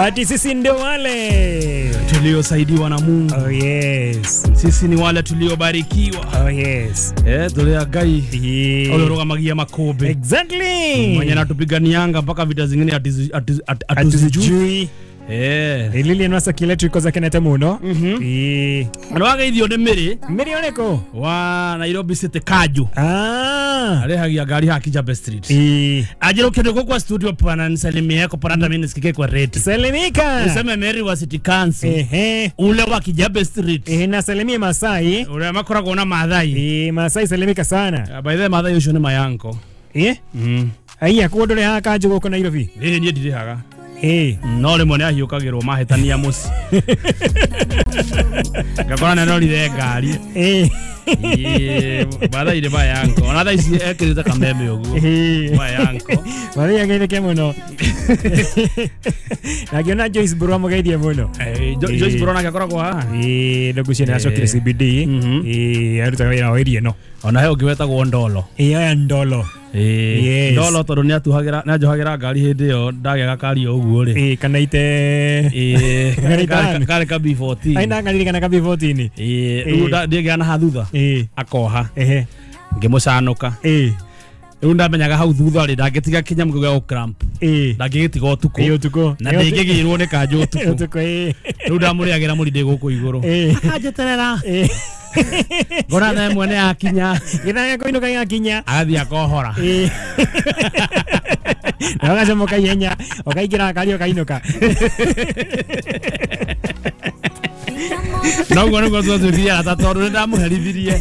Ati sisi ndio wale tuliosaidiwa na Mungu. Oh yes. Sisi ni wale tuliobarikiwa. Oh yes. Tulia Ngai. Olorogamagia makobe. Exactly. Mwenye anatupiganianga mpaka vita zingine atuzijui. Lilian Wasa kiletu iko zake nete muno. Anwaga ithio ni Miri. Miri oneko? Wa Nairobi City Kaju. Arehagia gari ha Kijabe Street. Ajira ukende kwa studio pana nisalimie yako pana hata mimi nisikike kwa radio. Salimika. Useme Mary wa City Council. Ule wa Kijabe Street. Nasalimie Masai. Ule makoragwo na Mathai. Masai salimika sana. By the way Mathai ucio ni mayanko. Aiya kuo ndore ha Kanju guku Nairobi. Nie ndirihaga. No rĩmwe nĩ ahiũkagĩrwo mahĩtania mũciĩ. Ngakora nĩ arorire ngari. Mathai nĩ mayanko. Ona thaa ici ekĩrĩte kameme ũguo. Mayanko. Mathai ageithĩke mũno. Na ngĩona Joyce Buru amũgeithie mũno. Joyce Buru nake akoragwo haha. Ndũgucie nĩ acokire CBD. Arutaga wĩra wa area ĩno. Ona he ũngĩ wetagwo Ndolo. Aya Ndolo. Yes. Ndolo tondu ni atuhagira ni anjohagira ngari hindi iyo ndagĩa gakari o ũguo rĩ. Kana ite kare ka B14. Aina ngaririkana ka B14. Rĩu ndĩgĩa na hathutha akoha ngĩmũcanũka. Rĩu ndamenyaga hau thutha rĩ ndangĩtiga kĩnyamũ kĩu gĩa gũ-cramp. Ndangĩgĩtiga ũtukũ. Na ndĩngĩgĩrwo nĩ kanjũ ũtukũ. Rĩu ndamũrĩagĩra mũrindĩ gũkũ igũrũ. Akanjeterera. Ngora thaa ĩmwe nĩ yakinya. Gĩthaa gĩa kũinũka gĩgakinya. Agathiĩ akohora. Na ũgacomoka ihenya ũkaingĩra ngari ũkainũka. No ũguo nĩguo twatuĩkire arata tondũ nĩ ndamũherithirie.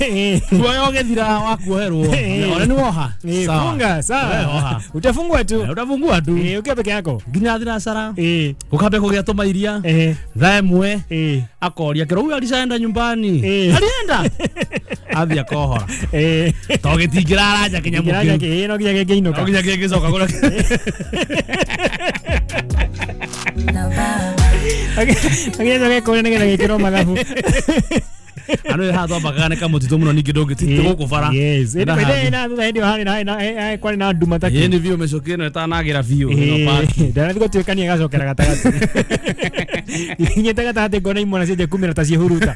Kuoya ũgĩthira wa kuoherwo. Ona nĩ woha. Funga sawa. Utafungua tu. Utafungua tu. Ukiwa peke yako. Nginya thinacara. Gũkambia kũgĩa tũmairia. Thaa ĩmwe. Akoria kĩro huyu alishaenda nyumbani. Alienda. Athiĩ akohora. To gĩtingĩraranja kĩnyamũ kĩu. No nginya kĩngĩinũka. No nginya kĩngĩcoka kũrĩa. Agĩcoka kũrĩa nĩgetha gĩkĩrwo mathabu. Andu haha twambakaga nĩ kamũtitũ mũno ningĩ ndũngĩtitĩ gũkũ bara. Yes. Ĩndĩ na thutha hĩndĩ ĩyo kwarĩ na nduma ta kĩ. Ĩĩ nĩ biũ mĩcũkĩ ĩno ĩtanagĩra biũ ĩno park. Ndanathiĩ gũtuĩkania ĩgacokera gatagatĩ. Ikinyĩte gatagatĩ ngona imwana cianjia kumĩra ta ciĩhuruta.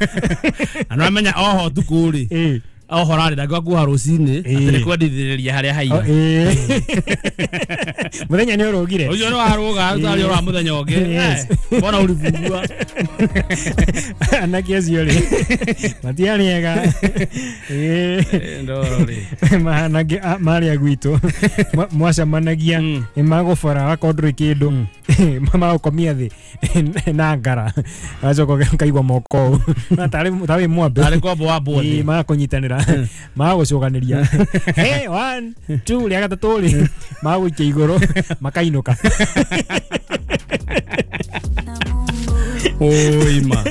Na nĩwamenya oho ũtukũ rĩ. Oho rarĩ ndangĩũka kuoha rũcinĩ atĩ nĩ kwendithĩrĩria harĩa haiya. Mũthenya nĩ ũrũgire. Ũcio nĩ warũga ũtarĩ ũra mũthenya ũngĩ. Mbona ũribugua. Anake acio rĩ matiarĩ ega. Ndoro rĩ. Mahanage marĩa gwitũ mwacemanagia nĩ magũbora wakorwo ndũrĩ kĩndũ magũkomia thĩ na ngara agacoka ũkaigua moko ũũ tarĩ wĩ mwambe. Tarĩ kwambwo wambwo thĩ. Magakũnyitanĩra magagũcokanĩria. Hey, 1 2 rĩa gatatũ rĩ magagũikia igũrũ makainũka. Oima.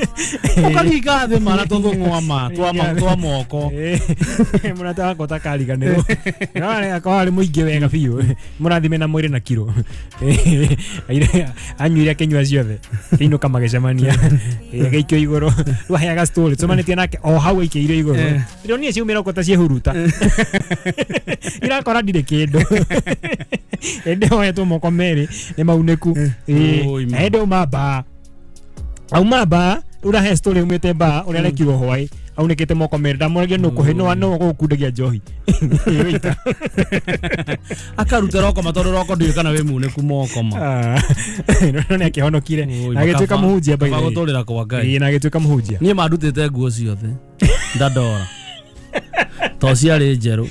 Ũkaringa thĩ ma na tũthũng'wa ma twa moko. Mũrata wakwa ũtakariganĩrwo. Akorwo arĩ mũingĩ wega biũ. Mũrathime na mwĩrĩ na kiro. Anyuire akĩnyua ciothe. Akĩinũka magĩcemania. Agĩikio igũrũ. Rĩu aheaga story tũcemanĩtie nake o hau aikĩire igũrũ. Ndĩronire ciaumĩra ũguo ta ciĩhuruta. Irakora ndirĩ kĩndũ. Ĩndĩ oetwo moko merĩ nĩ maunĩku. Ĩndĩ auma mbaa. Auma mbaa urahe story umite mbaa uria arekirwo hwai aunĩkĩte moko merĩ ndamũragia nũ kũhe no no gũkundagia njohi. Akaruta roko ma tondũ roko ndiũĩ kana wĩ munĩku moko ma. No nĩ akĩhonokire na agĩtuĩka mũhunjia by the way. Gũtũrĩra kwa Ngai. Na agĩtuĩka mũhunjia. Niĩ mandutĩte nguo ciothe ndandora to ciarĩ njerũ.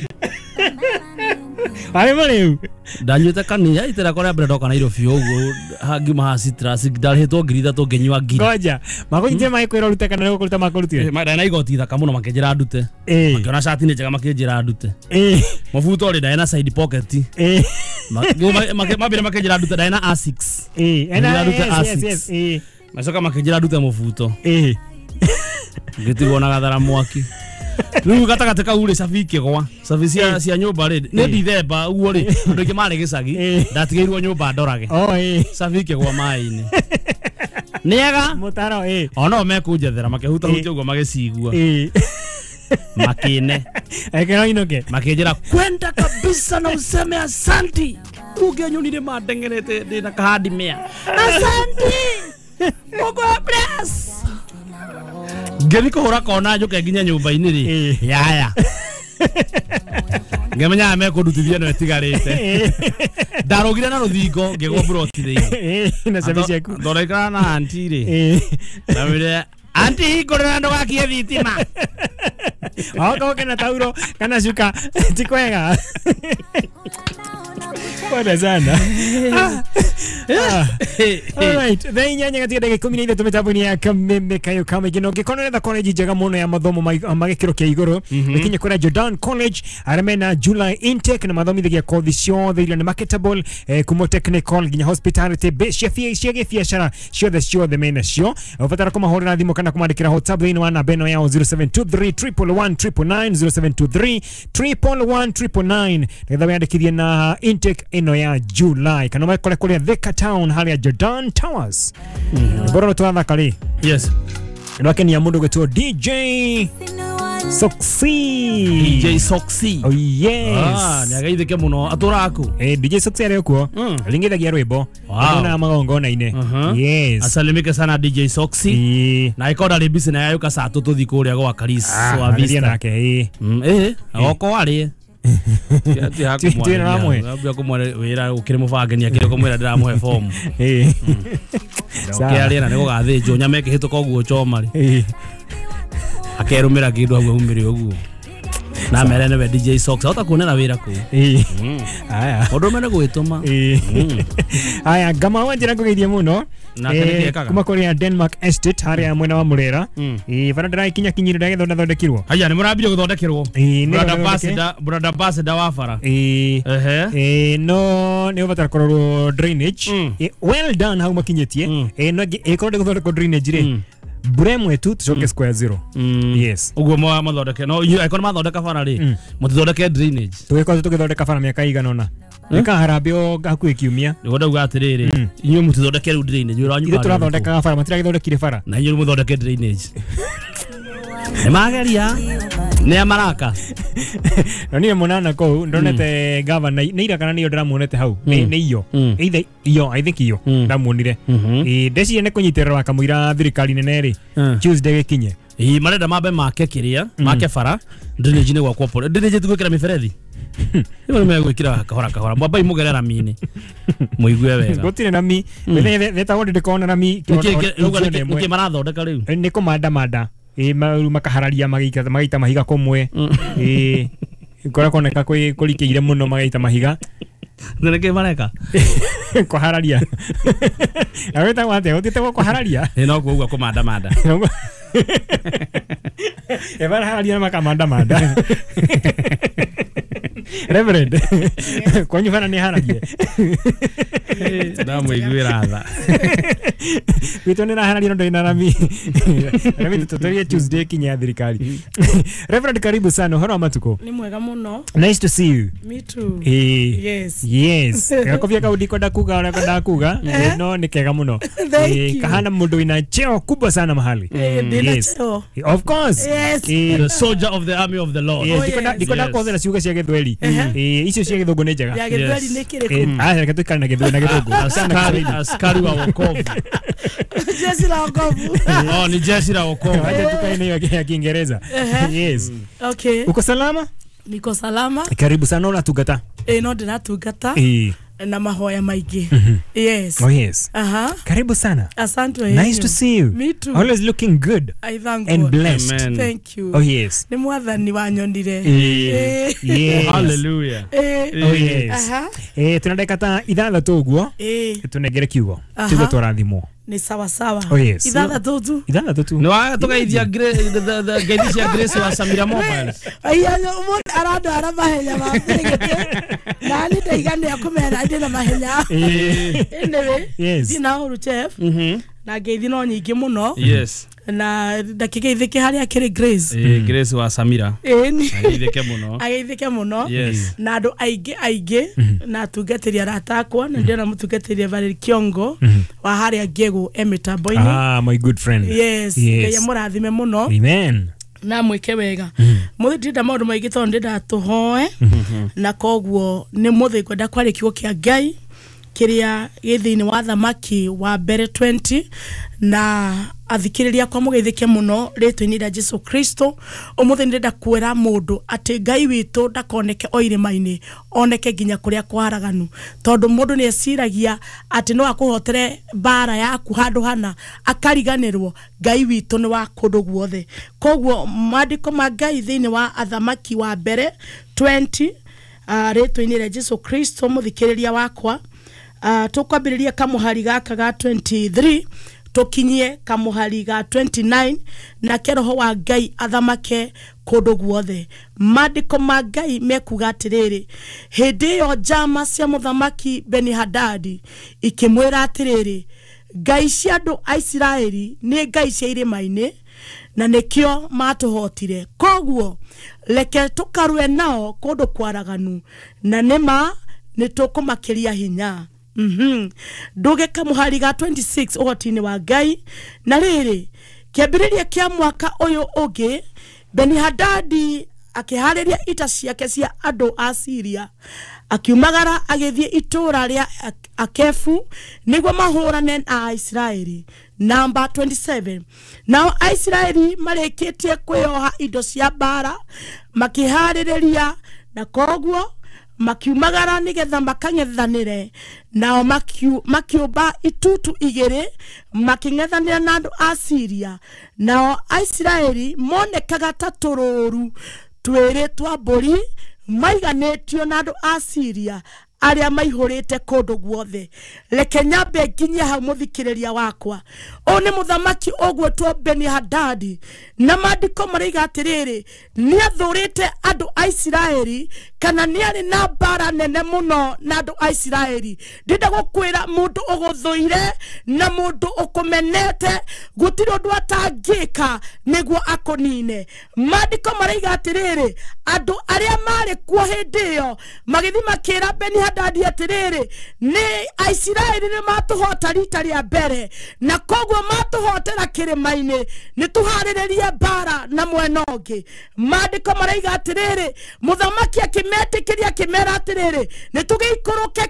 Arĩ marĩu. Ndanyuĩte kanitha itera kũrĩa mbere ndoka Nairobi ũguo ngiuma haha Citrus ndarĩhĩtwo 3,000 ngĩnyua ngiri. Ngoja makũnyitire magĩkwĩra ũrute kana nĩ gũkũruta makũrutire? Ndarĩ na igoti ithaka mũno makĩnjĩra ndute. Makĩona cati nĩ njega makĩnjĩra ndute. Mũbuto rĩ ndarĩ na side pocket. Mambire makĩnjĩra ndute ndarĩ na A6. Ndute A6. Macoka makĩnjĩra ndute mũbuto. Ngĩtigwo na gathara mwaki. Rĩu gatagatĩ kau rĩ cabi ikĩgwa. Cabi cia nyũmba rĩ nĩ Dithemba ũguo rĩ andũ aingĩ marĩ gĩcagi ndatigĩirwo nyũmba ndorage. Cabi ikĩgwa maĩ-inĩ. Nĩega mũtaro ona o mekũnjethera makĩhutahutia ũguo magĩcigua. Makĩne. Ekĩra inũke. Makĩnjĩra kwenda kabisa na useme asanti. Ũngĩanyonire mandengerete ndĩna kahandi mĩa. Asanti. Ngĩthiĩ kũhũra kona njũke nginya nyũmba-inĩ rĩ. Yaya. Ngemenya mekũndutithia no ĩtigarĩte. Ndarũgire na rũthingo ngĩgwa mburoti thĩinĩ. Na cabi ciaku. Ndorekaga na anti rĩ. Ndamwĩrire anti hingũrĩra ndũgakie thitima. Okorwo kena tauro kana cuka ti kwega. Pole sana. Alright, thaa inyanya gatika ndagĩka 13 mĩtambo-inĩ ya Kameme Kayo Kamaingĩ. Na ũngĩkorwo nĩũretha college njega mũno ya mathomo ma gĩkĩro kĩa igũrũ, gĩkinye kũrĩa Jordan College arĩa mena July intake na mathomithagia kothi ciothe iria nĩ marketable, kuma technical nginya hospitality, cia gĩbiacara ciothe ciothe mena cio. Ũbatara kũmahũrĩra thimũ kana kũmandĩkĩra WhatsApp thĩinĩ wa namba ĩno yao 0723 111 999 0723 111 999 nĩgetha wĩyandĩkithie na intake ĩno ya July kana makore kũrĩa Thika Town harĩa Jordan Towers. Bora twathaka rĩ. Yes. Ndwakenia mũndũ gwĩtwo DJ Soxy. DJ Soxy. Oh yes. Ah, nĩageithĩke mũno atũraga kũ? DJ Soxy arĩ kuo. Ringithagia rwĩmbo. Ndona magongona-inĩ. Yes. Asalimike sana DJ Soxy. Na ĩkorwo ndarĩ busy na yayũka saa tũthiĩ kũrĩa gwa Karis wa Vista. Nake Okorwo arĩe. Kumware wĩra ũkĩrĩ mũbange nĩ akĩrĩ kũmwĩra ndĩramũhe fomu. Ũkĩaria na nĩgũgathĩnjwo nyama ĩkĩhĩtũka ũguo choma rĩ. Akerũmĩra kĩndũ hau aumĩre ũguo. Na mere nĩwe DJ Sox ahota kuonera wĩra kũu. Aya. Mũndũ ũmwe nĩ gwĩtũma. Aya ngama wa njĩra ngũgeithie mũno. Kuma kũrĩa Denmark Estate harĩa mwena wa Mũrera. Bara ndĩrakinya kinyire ndagĩthonda thondekirwo. Haya nĩ mũrambirie gũthondekerwo. Brother ambassador wa bara. No nĩ ũbatara kũrorwo drainage. Well done hau makinyĩtie. No ĩkorwo ndĩgũthondekwo drainage rĩ. Mbura ĩmwe tu tucoke square zero. Yes. Ũguo mathondeke no inyuĩ angĩkorwo mathondeka bara rĩ mũtithondeke drainage. Tũgĩkorwo tũgĩthondeka bara mĩaka igana ũna. Nĩka harambĩ o hakuhĩ kiumia. Nĩguo ndauga atĩrĩrĩ inyuĩ mũtithondeke rĩu drainage wĩra wanyu. Ithuĩ tũrathondekaga bara matiragĩthondekire bara. Na inyuĩ mũthondeke drainage. Nĩ mageria nĩ maraka. Na niĩ mũnana kũu ndonete governor nĩ ira kana nĩyo ndĩramuonete hau nĩ iyo either iyo I think iyo ndamuonire. Ndeciria nĩ kũnyitĩrĩra kamũira thirikari nene rĩ Tuesday gĩkinye. Marenda mambe make kĩrĩa make bara drainage nĩ gwakwo pole drainage tugwĩkĩra mĩberethi. Nĩ megwĩkĩra kahora kahora mwambai mũgere rami-inĩ mũigue wega. Gũtirĩ rami betagwo ndĩkona rami nĩkĩ marathondeka rĩu nĩ kũmandamanda. Makahararia magaita mahiga kũmwe. Kũrĩa kuoneka kũrikĩire mũno magaita mahiga. Nĩkĩ mareka? Kũhararia. Na wĩtagwo atĩa? Gũtiĩtagwo kũhararia? No kuuga kũmandamanda. Barahararia na makamandamanda. Reverend, kwanyu bana nĩ haragie. Ndamũiguĩra tha. Gwitũ nĩ rahararia no ndĩrĩ na rami. Rami tũtũrie Tuesday kinya thirikari. Reverend, karibu sana ũhoro wa matukũ. Nĩ mwega mũno. Nice to see you. Me too. Yes. Yes. Gakobia kau ndikwenda kuga ũrĩa kwenda kuga no nĩ kega mũno. Kahana mũndũ wĩna cheo kubwa sana mahali. Yes. Of course. Yes. The soldier of the army of the Lord. Yes. Ndikwenda kũhũthĩra ciugo cia Gĩthweri. Icio cia Gĩthũngũ nĩ njega. Ya Gĩthweri nĩ kĩrĩkũ? Reke tũikare na Gĩthweri na Gĩthũngũ. Askari wa wokovu. Jeshi la wokovu. Oh, ni jeshi la wokovu. Acha tukae na hiyo ya Kiingereza. Yes. Okay. Uko salama? Niko salama. Karibu sana unatungata. No ndĩratungata. Na mahoya maingĩ. Yes. Oh yes. Aha. Karibu sana. Asante. Nice to see you. Me too. Always looking good. I thank and God. Blessed. Amen. Thank you. Oh yes. Nĩ mwathani wanyonire. Yes. Hallelujah. Oh yes. Aha. Tuna dakika ta ithathatũ ũguo. Tũnengere kiugo. Kiugo tũrathimwo. Ni sawa sawa. Oh yes. Ithathatũ tu. Ithathatũ tu. Nĩ watũgeithia ngeithi cia Grace wa Samira Mobile. Aya mũndũ arandwara mahenya ma mbĩrĩgĩtĩ. Na nĩ ndaiganĩa kũmera ndĩ na mahenya. Anyway, yes. Ndina ũru chef. Na ngeithi no nyingĩ mũno. Yes. Na ndakĩgeithĩke harĩa kĩrĩ Grace. Grace wa Samira. Ageithĩke mũno. Ageithĩke mũno. Yes. Na andũ aingĩ aingĩ na atungatĩri arata akwa na ndĩrona mũtungatĩri Valerie Kiongo wa harĩa Ngĩgũ e mĩtambo-inĩ. Ah, my good friend. Yes. Ngai amũrathime mũno. Amen. Na mwĩke wega. Mũthĩ ndĩrenda maũndũ maingĩ tondũ ndĩrenda tũhoe na koguo nĩ mũthĩ ngwenda kwarĩa kiugo kĩa Ngai Kĩrĩa gĩ thĩinĩ wa Thamaki wa mbere 20 na athikĩrĩria kwa mũgeithĩke mũno rĩtwa-inĩ rĩa Jesu Kristo. Ũmũthĩ nĩndĩrenda kwĩra mũndũ atĩ Ngai witũ ndakoneke o irĩma-inĩ, oneke nginya kũrĩa kwaraganu, tondũ mũndũ nĩ eciragia atĩ no akũhotere mbara yaku handũ hana akariganĩrwo. Ngai witũ nĩ wa kũndũ guothe. Koguo maandĩko ma Ngai thĩinĩ wa Athamaki wa mbere 20 rĩtwa-inĩ rĩa Jesu Kristo mũthikĩrĩria wakwa, tũkwambĩrĩria kamũhari gaka ga 23 tũkinyie kamũhari ga 29, nake roho wa Ngai athamake kũndũ guothe. Maandĩko ma Ngai mekuga atĩrĩrĩ, hĩndĩ ĩyo njama cia mũthamaki Beni-Hadadi ikĩmwĩra atĩrĩrĩ, Ngai cia andũ a Isiraeli nĩ ngai cia irĩma-inĩ na nĩkĩo matũhotire, koguo reke tũkarũe nao kũndũ kwaraganu, na nĩma nĩtũkũmakĩria hinya. Nduge kamũhari ga 26 ũhoti-inĩ wa Ngai. Na rĩrĩ, kĩambĩrĩria kĩa mwaka ũyũ ũngĩ, Beni-Hadadi akĩharĩria ita ciake cia andũ a Siria, akiumagara agĩthiĩ itũũra rĩa Akefu nĩguo mahũrane na Aisiraeli. Namba 27, nao Aisiraeli marĩkĩtie kwĩyoha indo cia mbara makĩharĩrĩria, na koguo makiumagara nĩgetha makang'ethanĩre nao, makiũmba itutu igĩrĩ makĩng'ethanĩra na andũ a Siria. Nao Aisiraeli monekaga ta tũrũru twĩrĩ twa mbũri maiganĩtio na andũ a Siria arĩa maihũrĩte kũndũ guothe. Reke nyambe nginyie hau mũthikĩrĩria wakwa. Ũyũ nĩ mũthamaki ũgwĩtwo Beni-Hadadi, na maandĩko maraiga atĩrĩrĩ, nĩathũrĩte andũ a Isiraeli, kana nĩarĩ na mbara nene mũno na andũ a Isiraeli. Ndĩrenda gũkwĩra mũndũ ũgũthũire na mũndũ ũkũmenete gũtirĩ ũndũ atangĩka nĩguo akũnine. Maandĩko maraiga atĩrĩrĩ, andũ arĩa marĩ kuo hĩndĩ ĩyo magĩthiĩ makĩra Beni-Hadadi atĩrĩrĩ, nĩ Aisiraeli nĩ matũhota rita rĩa mbere, na koguo matũhotera kĩrĩma-inĩ, nĩ tũharĩrĩrie mbara na mwena ũngĩ. Maandĩko maraiga atĩrĩrĩ, mũthamaki akĩmetĩkĩria akĩmera atĩrĩrĩ, nĩ tũgĩikũrũke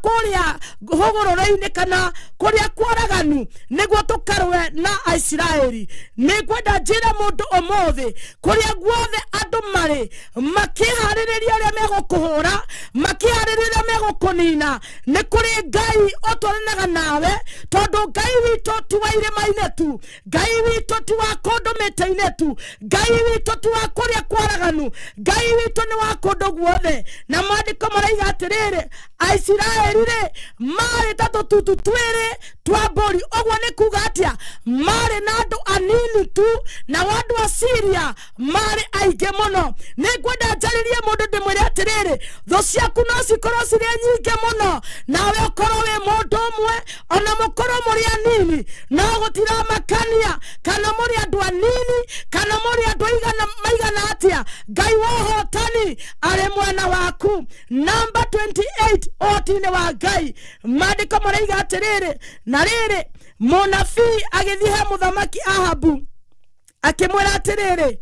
kũrĩa hũgũrũrũ-inĩ kana kũrĩa kwaraganu nĩguo tũkarũe na Aisiraeli. Nĩngwenda njĩre mũndũ ũmũthĩ, kũrĩa guothe andũ marĩ makĩharĩrĩria ũrĩa megũkũhũra, makĩharĩrĩria megũkũnina, nĩ kũrĩ Ngai ũtwaranaga nawe, tondũ Ngai witũ ti wa irĩma-inĩ tu, Ngai witũ ti wa kũndũ mĩtĩ-inĩ tu, Ngai witũ ti wa kũrĩa kwaraganu, Ngai witũ nĩ wa kũndũ guothe. Na maandĩko maraiga atĩrĩrĩ, Aisiraeli rĩ marĩ ta tũtutu twĩrĩ twa mbũri. Ũguo nĩ kuga atĩa? Marĩ na andũ anini tu, na andũ a Siria marĩ aingĩ mũno. Nĩngwenda njarĩrie mũndũ ndĩmwĩre atĩrĩrĩ, thũ ciaku no cikorwo cirĩ nyingĩ mũno, nawe ũkorwo wĩ mũndũ ũmwe, ona mũkorwo mũrĩ anini, no gũtiramakania kana mũrĩ andũ anini kana mũrĩ andũ maigana atĩa, Ngai wa ũhotani arĩ mwena waku. Namba 28 ũhoti-inĩ wa Ngai, maandĩko maraiga atĩrĩrĩ, na rĩrĩ, mũnabii agĩthiĩ he mũthamaki Ahabu akĩmwĩra atĩrĩrĩ,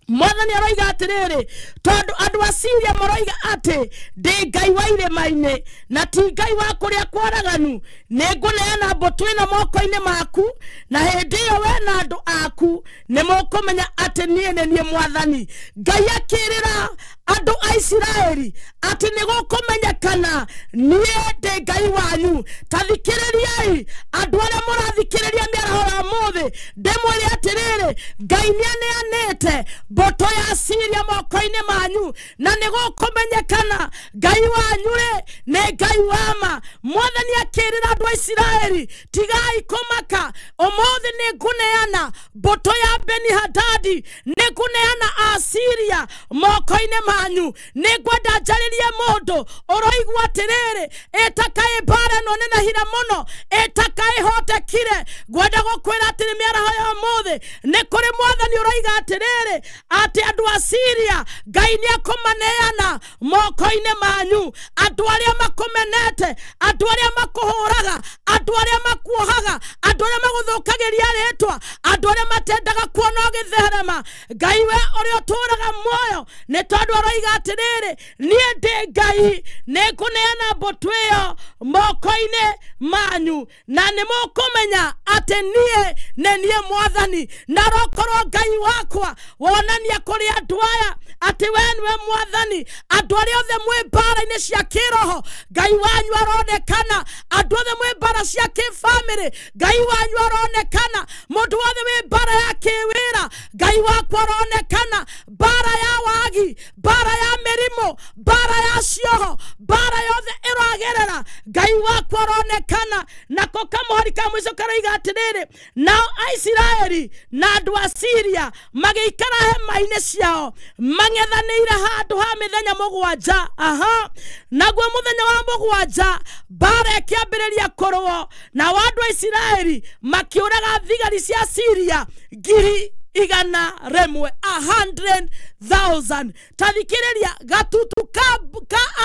Mwathani aroiga atĩrĩrĩ, tondũ andũ a Siria maroiga atĩ ndĩ Ngai wa irĩma-inĩ na ti Ngai wa kũrĩa kwaraganu, nĩngũneana mbũtũ ĩno moko-inĩ maku, na hĩndĩ ĩyo we na andũ aku nĩmũkũmenya atĩ niĩ nĩ niĩ Mwathani. Ngai akĩrĩra andũ a Isiraeli atĩ nĩgũkũmenyekana niĩ ndĩ Ngai wanyu. Ta thikĩrĩriai andũ arĩa mũrathikĩrĩria mĩaraho ya ũmũthĩ, ndĩmwĩre atĩrĩrĩ, Ngai nĩaneanĩte mbũtũ ya Siria moko-inĩ manyu, na nĩgũkũmenyekana Ngai wanyu rĩ nĩ Ngai wa ma. Mwathani akĩrĩra andũ a Isiraeli, tigai kũmaka, ũmũthĩ nĩngũneana mbũtũ ya Beni-Hadadi, nĩngũneana Asiria moko-inĩ manyu. Nĩngwenda njarĩrie mũndũ ũroigua atĩrĩrĩ, ĩtakaĩ mbara ĩno nenehire mũno, ĩtakaĩ hotekire. Ngwenda gũkwĩra atĩrĩ mĩaraho ya ũmũthĩ, nĩ kũrĩ Mwathani ũroiga atĩrĩrĩ, atĩ andũ a Siria Ngai nĩekũmaneana moko-inĩ manyu. Andũ arĩa makũmenete, andũ arĩa makũhũraga, andũ arĩa makuohaga, Andũ arĩa magũthũkagĩria rĩtwa, andũ arĩa matendaga kuona ũgĩtherema, Ngai we ũrĩa ũtũũraga muoyo, nĩ tondũ aroiga atĩrĩrĩ, niĩ ndĩ Ngai, nĩngũneana mbũtũ ĩyo moko-inĩ manyu, na nĩ mũkũmenya atĩ niĩ nĩ niĩ Mwathani. Na rokorwo Ngai wakwa wonania kũrĩ andũ aya atĩ we nĩwe Mwathani. Andũ arĩa othe mwĩ mbara-inĩ cia kĩroho, Ngai wanyu aronekana. Andũ othe mwĩ mbara cia kĩbamĩrĩ, Ngai wanyu aronekana. Mũndũ wothe wĩ mbara ya kĩwĩra, Ngai wakwa aronekana. Mbara ya wagi, mbara ya mĩrimũ, mbara ya cioho, mbara yothe ĩragerera, Ngai wakwa aronekana. Nako kamũhari ka mũico karoiga atĩrĩrĩ, nao Aisiraeli na andũ a Siria magĩikara hema-inĩ ciao mang'ethanĩire handũ ha mĩthenya mũgwanja. Aha, naguo mũthenya wa mũgwanja mbara ĩkĩambĩrĩria kũrũo, nao andũ a Isiraeli makĩũraga thigari cia Siria 100,000, 100,000. Tathikĩrĩria, gatutu ka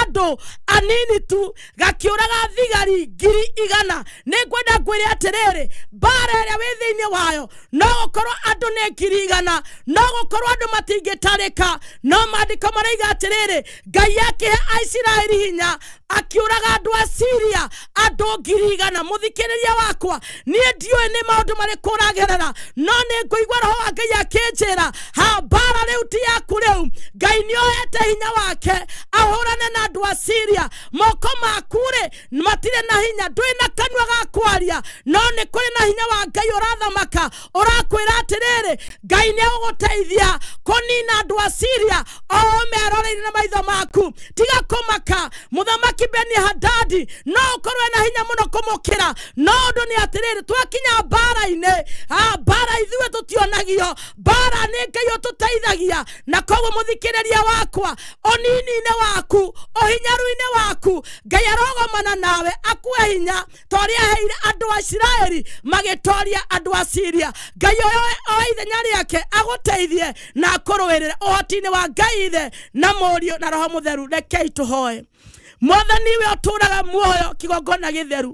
andũ anini tu gakĩũraga thigari 100,000. Nĩngwenda ngwĩre atĩrĩrĩ, mbara ĩrĩa wĩ thĩinĩ wayo no gũkorwo andũ nĩ 100,000, no gũkorwo andũ matingĩtarĩka, no maandĩko maroiga atĩrĩrĩ, Ngai akĩhe Aisiraeli hinya akĩũraga andũ a Siria andũ 100,000. Mũthikĩrĩria wakwa, niĩ ndiũĩ nĩ maũndũ marĩkũ ũragerera, no nĩ ngũigua roho wa Ngai akĩnjĩra, ha, mbara rĩu ti yaku rĩu. Ngai nĩoete hinya wake ahũrane na andũ a Siria. Moko maku rĩ matirĩ na hinya, ndũrĩ na kanua ga kwaria, no nĩ kũrĩ na hinya wa Ngai ũrathamaka, ũrakwĩra atĩrĩrĩ, Ngai nĩegũgũteithia kũnina andũ a Siria o meroreire na maitho maku. Tiga kũmaka. Mũthamaki Beni-Hadadi no ũkorwo na hinya mũno kũmũkĩra, no ũndũ nĩ atĩrĩrĩ, twakinya mbara-inĩ, mbara ithuĩ tũtionagio, mbara nĩ Ngai ũtũteithagia. Na koguo mũthikĩrĩria wakwa, ũnini-inĩ waku, ũhinyaru-inĩ waku, Ngai arogomana nawe akue hinya ta ũrĩa aheire andũ a Isiraeli magĩtoria andũ a Siria. Ngai oe ithenya rĩake agũteithie na akũrũĩrĩre ũhoti-inĩ wa Ngai Ithe na Mũriũ na Roho Mũtheru. Rekei tũhoe. Mwathani we ũtũũraga muoyo kĩgongona gĩtheru,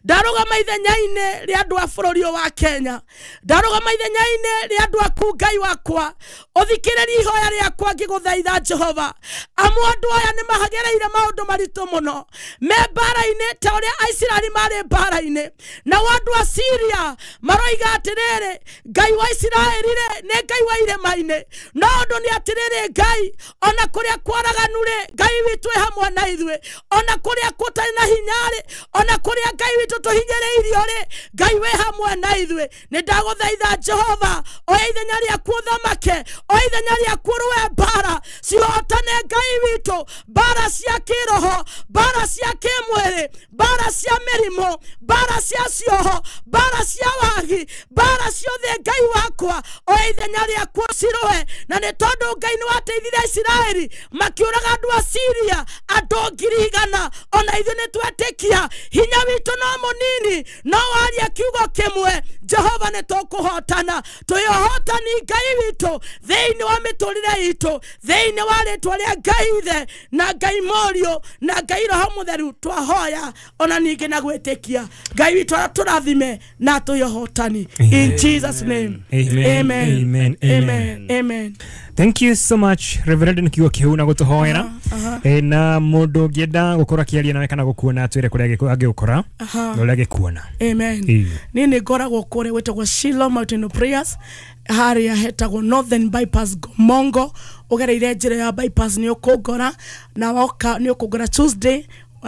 ndarũgama ithenya-inĩ rĩa andũ a bũrũri ũyũ wa Kenya, ndarũgama ithenya-inĩ rĩa andũ aku Ngai wakwa, ũthikĩrĩrie ihoya rĩakwa ngĩgũthaitha Jehova. Amu andũ aya nĩ magereire maũndũ maritũ mũno, me mbara-inĩ ta ũrĩa Aisiraeli marĩ mbara-inĩ, nao andũ a Siria maroiga atĩrĩrĩ, Ngai wa Isiraeli rĩ nĩ Ngai wa irĩma-inĩ. No ũndũ nĩ atĩrĩrĩ, Ngai ona kũrĩa kwaraganu rĩ, Ngai witũ ĩ hamwe na ithuĩ, ona kũrĩa gũtarĩ na hinya rĩ, ona kũrĩa Ngai witũ tũhinyĩrĩirio rĩ, Ngai wĩ hamwe na ithuĩ. Nĩ ndagũthaitha Jehova, oya ithenya rĩaku ũthamake, oya ithenya rĩaku ũrũe mbara cihotane Ngai witũ, mbara cia kĩroho, mbara cia kĩmwĩrĩ, mbara cia mĩrimũ, mbara cia cioho, mbara cia wagi, mbara ciothe Ngai wakwa, oya ithenya rĩaku ũcirũe. Na nĩ tondũ Ngai nĩ wateithirie Isiraeli makĩũraga andũ a Siria andũ 100,000, ona ithuĩ nĩ twetĩkia hinya witũ no mũnini, no waria kiugo kĩmwe, Jehova nĩ tũkũhotana. Twĩ ũhotani Ngai witũ thĩinĩ wa mĩtũrĩre itũ, thĩinĩ wa rĩtwa rĩa Ngai Ithe na Ngai Mũriũ na Ngai Roho Mũtheru, twahoya ona ningĩ na gwĩtĩkia. Ngai witũ atũrathime na atũhe ũhotani. In Jesus name. Amen. Amen. Amen. Amen. Amen. Thank you so much Reverend nĩ kiugo kĩu na gũtũhoera. Na mũndũ ũngĩenda gũkorwo akĩaria nawe kana gũkuona atwĩre kũrĩa angĩgũkora na ũrĩa angĩkuona. Amen. Niĩ nĩ ngoragwo kũrĩa gwĩtagwo Shiloh Mountain of Prayers, harĩa hetagwo Northern Bypass Gomongo. Ũgereire njĩra ya bypass nĩ ũkũngora, na woka nĩ ũkũngora Tuesday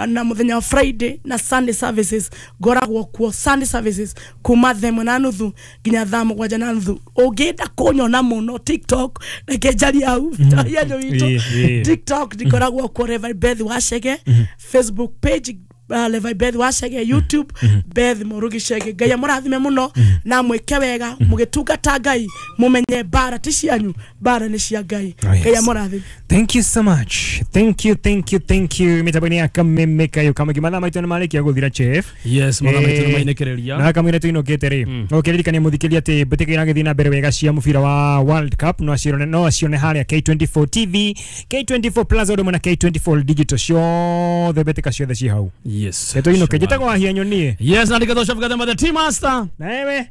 na mũthenya wa Friday na Sunday services. Ngoragwo kuo Sunday services kuma 3:30 nginya 7:30. Ũngĩenda kũnyona mũno TikTok, reke njarie hau yanyu witũ. TikTok ndikoragwo kuo Reverend Beth Wachege, Facebook page Levi Beth Wachege, YouTube Beth Murugi Chege. Ngai amũrathime mũno na mwĩke wega mũgĩtungata Ngai, mũmenye mbara ti cianyu, mbara nĩ cia Ngai. Ngai amũrathime. Thank you so much. Thank you, thank you, thank you. Mĩtambo-inĩ ya Kameme kayo kamwe mathaa maitũ nĩ marĩkia gũthira Chief. Yes, mathaa maitũ nĩ mainĩkĩrĩria. Na kamwe tũinũkĩte rĩ, no kĩririkanie mũthikĩrĩria atĩ mbĩtĩka iragĩthiĩ na mbere wega cia mũbira wa World Cup, no acione harĩa K24 TV, K24 Plus ũndũ ũmwe na K24 Digital, ciothe mbĩtĩka ciothe ci hau. Yes. Tuinuke njĩtagwo Wahia Nyonie. Yes, na ndikatwo Shafi Gathemba the team master. Na wewe?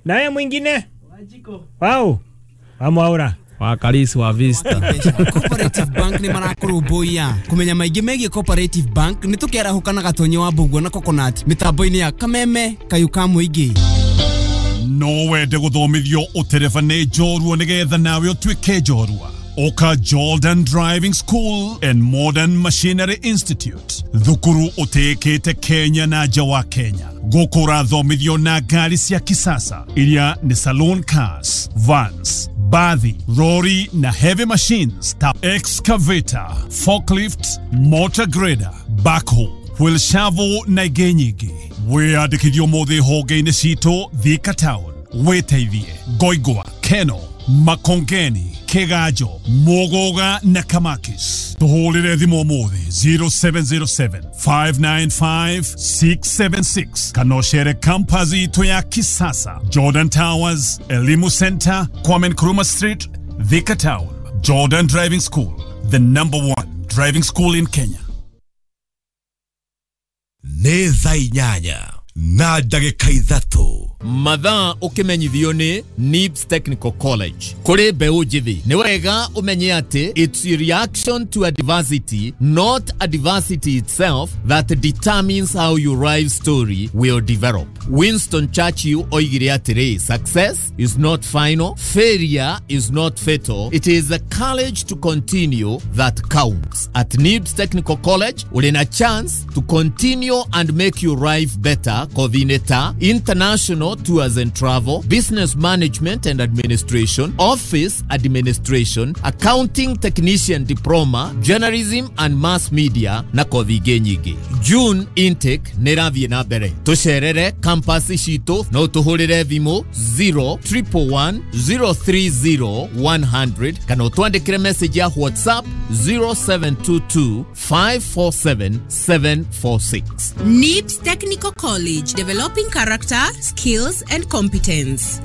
Na wewe mwingine? Wao. Wamwaura. Wa Kalisi wa Vista. Cooperative Bank nĩ marakũrũmbũiya kũmenya maingĩ megiĩ Cooperative Bank nĩ tũkĩarahũka na Gatonye wa Mbũguo na Coconut mĩtambo-inĩ ya Kameme Kayũ ka Mũingĩ. No wende gũthomithio ũtereba nĩ njorua nĩgetha nawe ũtuĩke njorua. Oka Jordan Driving School and Modern Machinery Institute, thukuru ũtĩĩkĩte Kenya na nja wa Kenya. Gũkũ ũrathomithio na ngari cia kisasa iria nĩ saloon cars, vans, bathi, rori na heavy machines ta excavator, forklift, motor grader, backhoe, wheel shovel na ingĩ nyingĩ. Wĩyandĩkithio ũmũthĩ honge-inĩ citũ Thika Town, wĩteithie Ngoingwa, Keno, Makongeni, Kiganjo, Muguga na Kamakis. Tuhũrĩre thimũ ũmũthĩ 0707 595 676 kana ũcere campus itũ ya kisasa Jordan Towers, Elimu Center, Kwame Nkrumah Street, Thika Town. Jordan Driving School, the number one driving school in Kenya. Nĩ thaa 8 na ndagĩka 3. Mathaa ũkĩmenyithio nĩ NIBS Technical College. Kũrĩ mbeũ njĩthĩ nĩ wega ũmenye atĩ it's a reaction to adversity, not adversity itself, that determines how your life story will develop. Winston Churchill oigire atĩrĩ, success is not final, failure is not fatal, it is the courage to continue that counts. At NIBS Technical College ũrĩ na chance to continue and make your life better. Coordinator, international tours and travel, business management and administration, office administration, accounting technician diploma, journalism and mass media na kothi ingĩ nyingĩ. June intake nĩ ĩrathiĩ na mbere. Tũcerere campus citũ no tũhũrĩre thimũ 0111 030 100 kana ũtwandĩkĩre message ya WhatsApp 0722 547 746. NIBS Technical College, developing character, skills and competence.